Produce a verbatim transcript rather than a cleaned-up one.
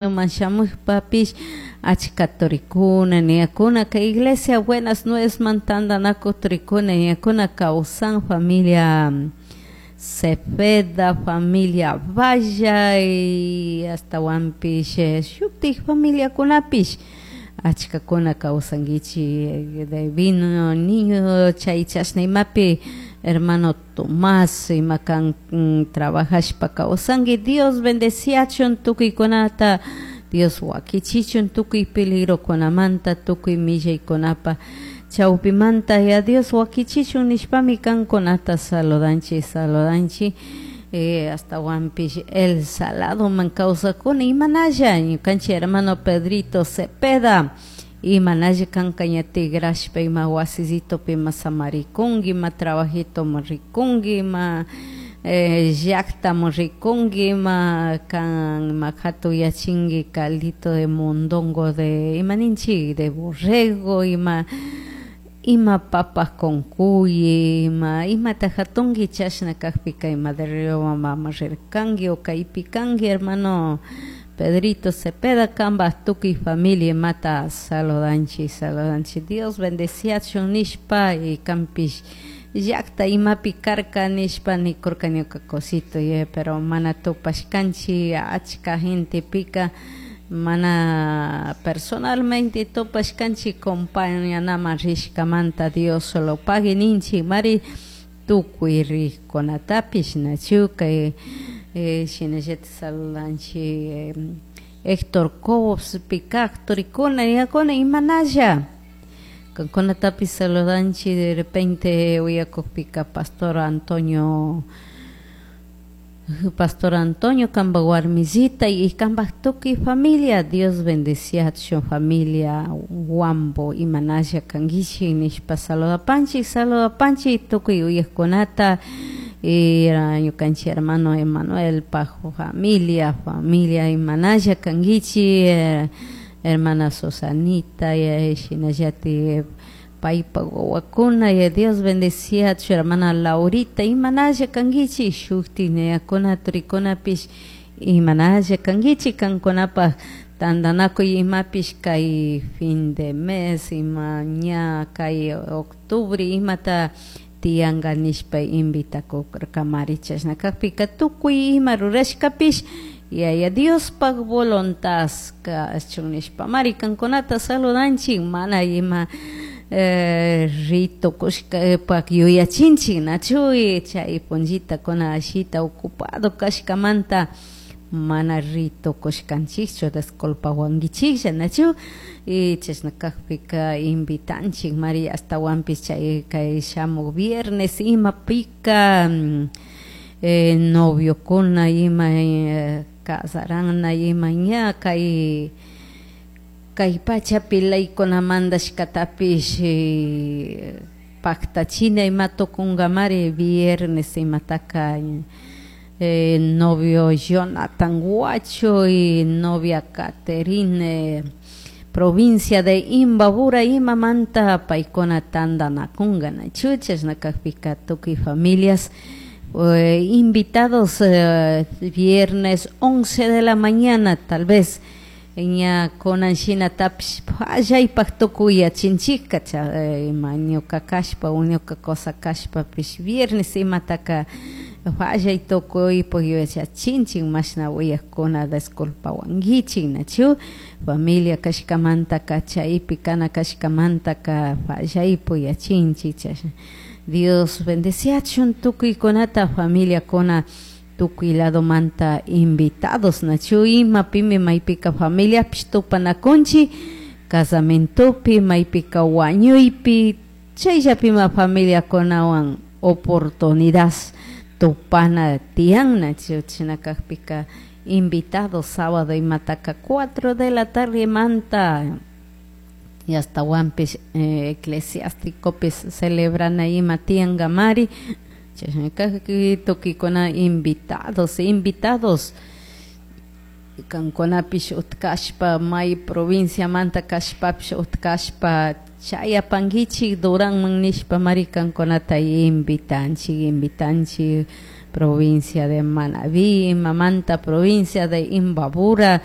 Shamushpapish achka turikuna niyakuna kay iglesia Buenas Nuevasman tantanakuy turikuna niyakuna kawsan familia Cepeda, familia Valla y ashtawanpish shutik familiakunapish achkakuna kawsankichik de vino niño chay chashna imapi hermano Tomás ima kan trabajashpa kawsanki. Dios bendeciachun tukuykunata, Dios wakichichun tukuy peligrokunamanta, tukuy millaykunapa chawpimanta, ya Dios wakichichun nishpami kankunata saludanchik, saludanchik. eh, ashtawanpish El Saladoman kawsakuna imanalla ñukanchik hermano Pedrito Cepeda imanalla kanka ña tigrashpa ima wasisitopi ima samarikunki, ima trabajitoman rikunki, ima eh, llaktaman rikunki, ima kan ima hatuyachinki caldito de mondongo de ima ninchik de borrego, ima ima papas con cuy, ima imata hatunki chashna kakpika ima de Riobamba rirkanki o kaypi kanki hermano Pedrito Cepeda kanpak tukuy familia imata saludanchik, saludanchik. Dios bendeciachun nishpa y kanpish llakta imapi karka nishpa nikurka ñuka cosito, pero mana tupashkanchik achka gentepika mana personalmente tupashkanchik compañanaman rishkamanta Dios solo pagui ninchik mari tukuy rikkunatapish nachu kay eh, shinallatik saludanchik eh, Héctor Cobospi kak turikuna niyakuna imanalla kankunatapish saludanchik. De repente uyakukpika Pastor Antonio Pastor Antonio kanpak warmisita y kanpak tukuy familia, Dios bendeciachun familia Huambo imanalla kankichik nishpa saludapanchik, saludapanchik tukuy uyakkunata y ñukanchik hermano Emanuel paj familia, familia imanalla kankichik, hermana Susanita shinallatik paypak wawakuna y Dios bendeciachun hermana Laurita imanalla kankichik shuktik niyakuna turikunapish imanalla kankichik kankunapak tantanakuy imapish kay fin de mes ima ña kay octubre imata tiyanka nishpa invitakurkamari chashna kakpika tukuy ima rurashkapish Yaya Diospak voluntad kachun nishpamari kankunata saludanchik mana ima eh, ritukushkapak yuyachinchik nachu chay punllita ashita ocupado kashkamanta mana ritukushkanchikchu disculpawankichiklla nachu y chashna kakpika invitanchik mari ashtawanpish chay kay shamuk viernes imapika eh, noviokuna ima eh, casarana ima ña kay kay pachapi leykunamanta shkatapish eh, paktachina ima tukunkamari viernes imataka eh, novio Jonathan Huacho y novia Caterine provincia de Imbabura imamanta paykuna tantanakunka nachu chashna kakpika tukuy familias eh, invitados eh, viernes once de la mañana tal vez ña kunan shinatapish pallaypak tukuy yachinchikka ima ñuka kashpa o ñuka cosa kashpapish viernes imataka fallay tukuypuk yachachinchik mashna uyakuna disculpawankichik nachu familia kashkamantaka chaypi kana kashkamantaka fallaypuk yachinchik chashna Dios bendeciachun tukuykunata familiakuna tukuy ladomanta invitados nachu imapimi maypika familiapish tupanakunchik casamentopi maypika wañuypi chayllapima familiakunawan oportunidad tupana tiyan nachu chashna kakpika invitados sábado imataka cuatro de la tarde manta y ashtawanpish eh, eclesiásticopish celebrana ima tiyankamari chashna kakpi tukuykuna invitados, invitados kankunapish utkashpa may provinciamanta kashpapish utkashpa chayapankichik Duranman nishpa mari kankunata invitanchik, invitanchik provincia de Manabí, imamanta provincia de Imbabura.